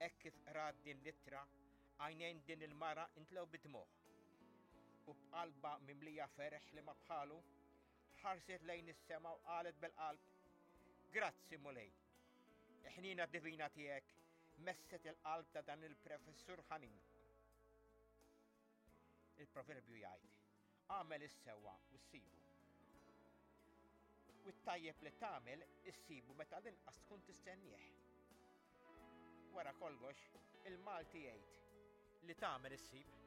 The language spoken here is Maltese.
Hekk kif qrat din l-ittra, għajnejn din il-mara intlew bid-dmugħ. U b'qalba mimlija ferħ li ma bħalu, ħarset lejn is-sema u qalet bil-qalb, Grazzi Mulej. Il-ħniena divina tiegħek messet il-qalb ta' dan il-professur ħanin. Il-proverbju jgħid, għamel is-sewwa u ssibu. U t-tajjeb li tagħmel issibu meta l-inqas tkun tistennieh. Wara kollox, il-Malti jgħid li tagħmel issib.